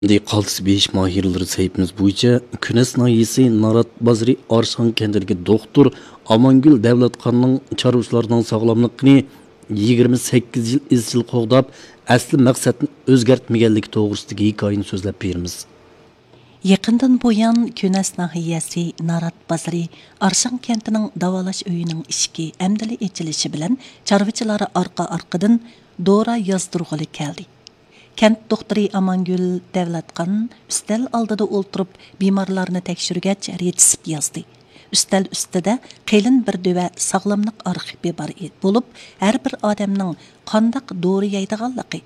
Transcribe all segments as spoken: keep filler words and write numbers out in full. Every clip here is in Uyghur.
ئەمدى قالتىس بېيىش ماھىرلىرى سەھىپىمىز بويىچە كۈنەس ناھىيەسى نارات بازىرى ئارشان كەنتىدىكى دوختۇر ئامانگۈل دەۋلەتخاننىڭ چارۋىچىلارنىڭ ساغلاملىقىنى يىگىرمە سەككىز يىل ئىزچىل قوغداپ، ئەسلى مەقسەتنى ئۆزگەرتمىگەنلىكى توغرىسىدىكى ھېكايىنى سۆزلەپ بېرىمىز. يېقىندىن بۇيان، كۈنەس ناھىيەسى نارات بازىرى ئارشان كەنتىنىڭ داۋالاش ئۆيىنىڭ ئىشىكى ئەمدىلا ئېچىلىشى بىلەن، چارۋىچىلار ئارقا-ئارقىدىن دورا يازدۇرغىلى كەلدى. كەنت دوختۇرى ئامانگۈل دەۋلەتخان ئۈستەل ئالدىدا ئولتۇرۇپ، بىمارلارنى تەكشۈرگەچ، رېتسېپ يازدى. ئۈستەل ئۈستىدە قېلىن بىر دۆۋە ساغلاملىق ئارخىپى بار ئىدى، بولۇپ، ھەر بىر ئادەمنىڭ قانداق دورا يەيدىغانلىقى،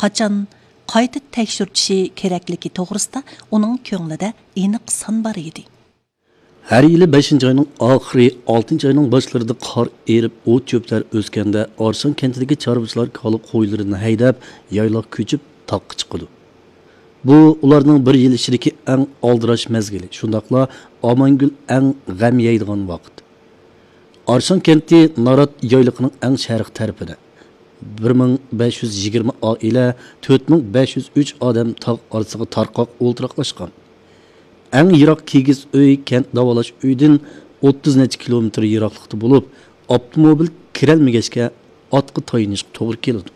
قاچان قايتا تەكشۈرتۈشى كېرەكلىكى توغرىسىدا ئۇنىڭ كۆڭلىدە ئېنىق سان بار ئىدى. ھەر يىلى بەشىنچى ئاينىڭ ئاخىرى، ئالتىنچى ئاينىڭ باشلىرىدا قار ئېرىپ، ئوت-چۆپلەر ئۆسكەندە، ئارشان كەنتىدىكى چارۋىچىلار كالا قويلىرىنى ھەيدەپ، يايلاققا كۆچۈپ، تاغقا چىقىدۇ. بۇ ئۇلارنىڭ بىر يىل ئىچىدىكى ئەڭ ئالدىراش مەزگىلى، شۇنداقلا ئامانگۈل ئەڭ غەم يەيدىغان ۋاقىت. ئارشان كەنتى نارات يايلىقىنىڭ ئەڭ شەرقىي تەرىپىدە. بىر مىڭ بەش يۈز يىگىرمە ئائىلە، تۆت مىڭ بەش يۈز ئۈچ ئادەم تاغ ئارىسىغا تارقاق ئولتۇراقلاشقان. ئەڭ يىراق كىگىز ئۆي كەنت داۋالاش ئۆيىدىن ئوتتۇز نەچچە كىلومېتىر يىراقلىقتا بولۇپ، ئاپتوموبىل كىرەلمىگەچكە، ئاتقا تايىنىشقا توغرا كېلىدۇ.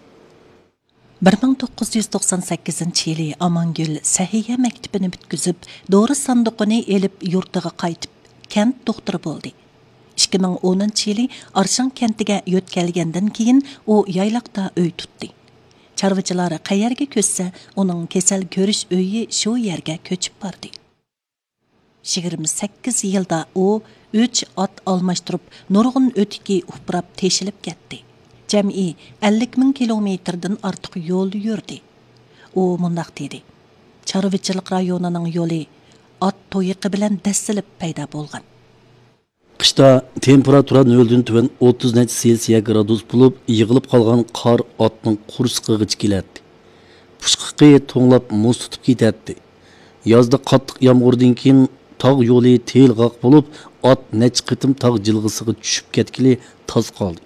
بىر مىڭ توققۇز يۈز توقسان سەككىزىنچى يىلى ئامانگۈل سەھىيە مەكتىپىنى پۈتكۈزۈپ، دورا ساندۇقىنى ئېلىپ، يۇرتىغا قايتىپ، كەنت دوختۇرى بولدى. ئىككى مىڭ ئونىنچى يىلى ئارشان كەنتىگە يۆتكەلگەندىن كېيىن، ئۇ يايلاقتا ئۆي تۇتتى. چارۋىچىلار قەيەرگە كۆچسە، ئۇنىڭ كېسەل كۆرۈش ئۆيى شۇ يەرگە كۆچۈپ باردى. يىگىرمە سەككىز يىلدا ئۇ ئۈچ ئات ئالماشتۇرۇپ، نۇرغۇن ئۆتۈكى ئۇپراپ تېشىلىپ كەتتى. جەمئىي ئەللىك مىڭ كىلومېتىردىن ئارتۇق يول يۈردى. ئۇ مۇنداق دېدى: «چارۋىچىلىق رايونىنىڭ يولى ئات تۇيىقى بىلەن دەسسىلىپ پەيدا بولغان.» قىشتا تېمپېراتۇرا نۆلدىن تۆۋەن ئوتتۇز نەچچە سېلسىيە گرادۇس بولۇپ، يىغىلىپ قالغان قار ئاتنىڭ قورسىقىغىچە كېلەتتى. پۇچقىقى توڭلاپ مۇز تۇتۇپ كېتەتتى. يازدا قاتتىق يامغۇردىن كېيىن تاغ يولى تېيىلغاق بولۇپ، ئات نەچچە قېتىم تاغ جىلغىسىغا چۈشۈپ كەتكىلى تاس قالدى.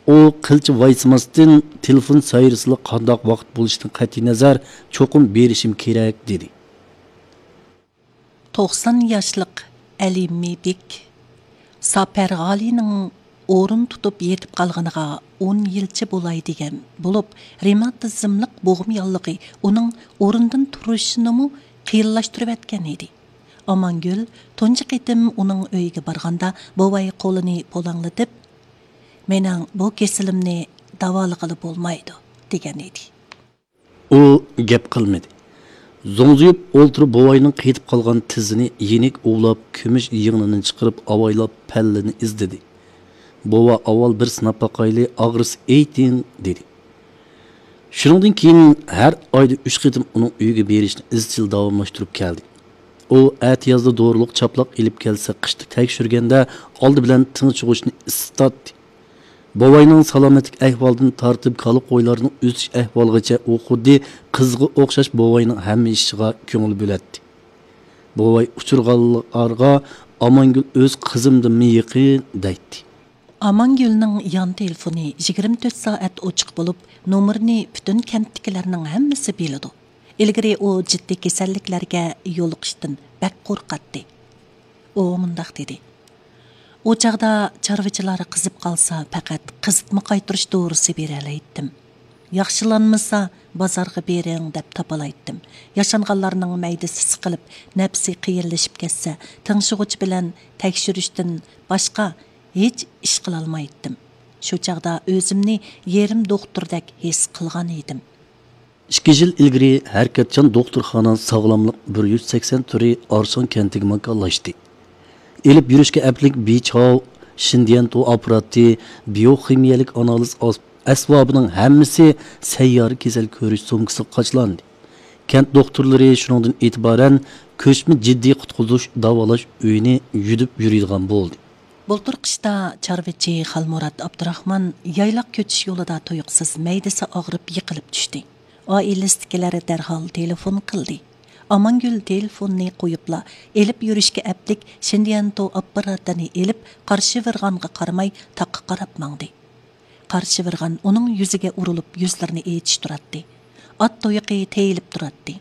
ئۇ قىلچە ۋايسىماستىن، تېلېفون سايرىسىلا قانداق ۋاقىت بولۇشىدىن قەتئىينەزەر، چوقۇم بېرىشىم كېرەك، دېدى. توقسان ياشلىق ئەلى مىبىك ساپەر غالىنىڭ ئورۇن تۇتۇپ يېتىپ قالغىنىغا ئون يىلچە بولاي دېگەن بولۇپ، رېماتىزملىق بوغما ياللۇغى ئۇنىڭ ئورنىدىن تۇرۇشىنىمۇ قىيىنلاشتۇرۇۋەتكەن ئىدى. ئامانگۈل تۇنجى قېتىم ئۇنىڭ ئۆيىگە بارغاندا، بوۋاي قولىنى پۇلاڭلىتىپ، «مېنىڭ بۇ كېسىلىمنى داۋالىغىلى بولمايدۇ» دېگەن ئىدى. ئۇ گەپ قىلمىدى. زوڭزىيىپ ئولتۇرۇپ، بوۋاينىڭ قېتىپ قالغان تىزىنى يېنىك ئۇۋىلاپ، كۈمۈش يىڭنىنى چىقىرىپ، ئاۋايلاپ پەللىنى ئىزدىدى. «بوۋا، ئاۋۋال بىر سىناپ باقايلى، ئاغرىسا ئېيتىڭ» دېدى. شۇنىڭدىن كېيىن ھەر ئايدا ئۈچ قېتىم ئۇنىڭ ئۆيىگە بېرىشنى ئىزچىل داۋاملاشتۇرۇپ كەلدى. ئۇ ئەتىيازدا دورىلىق چاپلاق ئېلىپ كەلسە، قىشتا تەكشۈرگەندە ئالدى بىلەن تىڭ چۇغۇچنى ئىسسىتاتتى. بوۋاينىڭ سالامەتلىك ئەھۋالىدىن تارتىپ، كالا قويلارنىڭ ئۆسۈش ئەھۋالىغىچە ئۇ خۇددى قىزىغا ئوخشاش بوۋاينىڭ ھەممە ئىشىغا كۆڭۈل بۆلەتتى. بوۋاي ئۇچرىغانلارغا «ئامانگۈل ئۆز قىزىمدىنمۇ يېقىن» دەيتتى. ئامانگۈلنىڭ يان تېلېفونى يىگىرمە تۆت سائەت ئوچۇق بولۇپ، نومۇرىنى پۈتۈن كەنتتىكىلەرنىڭ ھەممىسى بىلىدۇ. ئىلگىرى ئۇ جىددىي كېسەللىكلەرگە يولۇقۇشتىن بەك قورقاتتى. ئۇ مۇنداق دېدى: «ئۇ چاغدا چارۋىچىلار قىزىپ قالسا، پەقەت قىزىتما قايتۇرۇش دورىسى بېرەلەيتتىم. ياخشىلانمىسا، بازارغا بېرىڭ دەپ تاپالايتتىم. ياشانغانلارنىڭ مەيدىسى سىقىلىپ، نەپسى قىيىنلىشىپ كەتسە، تىڭشىغۇچ بىلەن تەكشۈرۈشتىن باشقا ھېچ ئىش قىلالمايتتىم. شۇ چاغدا ئۆزۈمنى يېرىم دوختۇردەك ھېس قىلغان ئىدىم.» ئىككى يىل ئىلگىرى ھەرىكەتچان دوختۇرخانا ساغلاملىق بىر يۈز سەكسەن تۈرى ئارشان كەنتىگە ماكانلاشتى. ئېلىپ يۈرۈشكە ئەپلىك بىچاۋ، شىندىيەنتو ئاپپاراتى، بىيوخىمىيەلىك ئانالىز ئاس-، ئەسۋابىنىڭ ھەممىسى سەييارە كېسەل كۆرۈش سومكىسىغا قاچىلاندى. كەنت دوختۇرلىرى شۇنىڭدىن ئېتىبارەن كۆچمە جىددىي قۇتقۇزۇش داۋالاش ئۆيىنى يۈدۈپ يۈرىدىغان بولدى. بۇلتۇر قىشتا چارۋىچى خالمۇرات ئابدۇراخمان يايلاق كۆچۈش يولىدا تۇيۇقسىز مەيدىسى ئاغرىپ يىقىلىپ چۈشتى. ئائىلىسىدىكىلەر دەرھال تېلېفون قىلدى. ئامانگۈل تېلېفوننى قويۇپلا، ئېلىپ يۈرۈشكە ئەپلىك شىندىيەنتو ئاپپاراتىنى ئېلىپ، قارشىۋىرغانغا قارىماي تاغقا قاراپ ماڭدى. قارشىۋىرغان ئۇنىڭ يۈزىگە ئۇرۇلۇپ، يۈزلىرىنى ئېچىشتۇراتتى. ئات تۇيىقى تېيىلىپ تۇراتتى.